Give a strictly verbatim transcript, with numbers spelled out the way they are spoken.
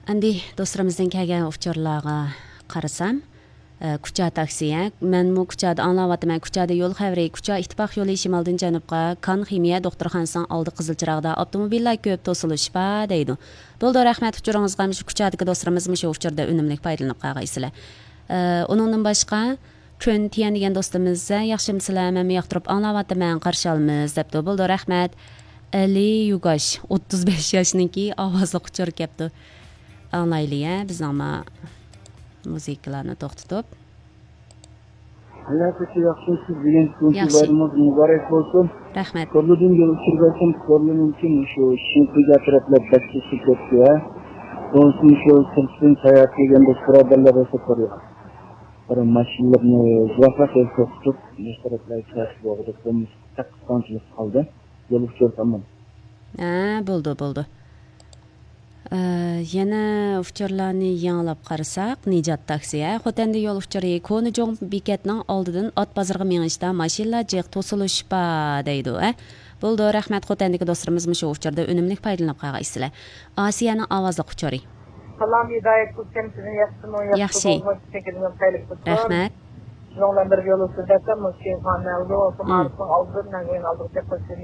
ئەمدى دوستلىرىمىزدىن كەلگەن ئۇچۇرلارغا قارىسام، ئە، كۇچا تاكسى، ھە؟ مەنمۇ كۇچادا ئاڭلاۋاتىمەن. كۇچادا يول خەۋىرى، كۇچا ئىتتىپاق يولى شىمالدىن جەنۇبقا، كان خىمىيە دوختۇرخانىسىنىڭ ئالدى قىزىل چىراغدا، ئاپتوموبىللار كۆپ، توسۇلۇش بار دەيدۇ. بولدى، رەھمەت ئۇچۇرىڭىزغا. مۇشۇ كۇچادىكى دوستلىرىمىز مۇشۇ ئۇچۇردا ئۈنۈملۈك پايدىلىنىپ قالغايسىلەر. ئە، ئۇنىڭدىن باشقا، كۆن تيەن دېگەن دوستىمىز، ھە، ياخشىمۇسىلەر؟ مەنمۇ ياقتۇرۇپ ئاڭلاۋاتىمەن، قارشى ئالىمىز، دەپتۇ. بولدى، رەھمەت. ئەلى يۇگاش، ئوتتۇز بەش ياشنىڭكى ئاۋازلىق ئۇچۇر كەپتۇ. ئاڭلايلى، ھە، بىزنىڭ ما مۇزىكىلارنى توختىتىپ. ھاياتىكى ياخشىمۇسىز؟ بۈگۈن تۇنجى ياخشى. بايرىمىڭىز مۇبارەك بولسۇن. رەھمەت. كورلىدىن يول ئۇچۇر بەرسەم، كورلىنىڭكى شۇ شىنخۇيگا تەرەپلەر بەك چىشى كەتتى، ھە. بولسىمۇ شۇ سىرتتىن ساياھەت قىلگەن دوست بۇرادەرلەر بولسا كورلا. بىر ماشىنىلارنى يىراقراق يەرگە توختىتىپ، مۇشۇ تەرەپلەرگە كىرىش بولغۇدەك بولمىسا، بەك قىستاڭچىلىق قالدى. يول ئۇچۇر تامام. ھە، بولدى، بولدى. ئە، يەنە ئۇچۇرلارنى يېڭىلاپ قارىساق، نىجات تاكسى، ھە، خوتەندە يول ئۇچۇرى، كونا جۇڭ بېكەتنىڭ ئالدىدىن ئات بازىرىغا مېڭىشتا ماشىنىلار جىق، توسۇلۇش بار دەيدۇ، ھە. بولدى، رەھمەت، خوتەندىكى دوستلىرىمىز مۇشۇ ئۇچۇردا ئۈنۈملۈك پايدىلىنىپ قالغايسىلەر. ئاسىيەنىڭ ئاۋازلىق ئۇچۇرى. سالام، ھىدايەت ھۈسەن، سىزنى ياخشىمۇ، ياخشى ياخشى. بولمىدى، چېكىدىن خەيرلىك بولسۇن. رەھمەت. شۇنىڭ بىلەن بىرگە يول ئۇچۇر بەرسەم، مۇشۇ خانەلدە بولسۇن، مم. مائارىپنىڭ ئالدىدىن مەڭگۈ ئالدىغىچە قوشۇن.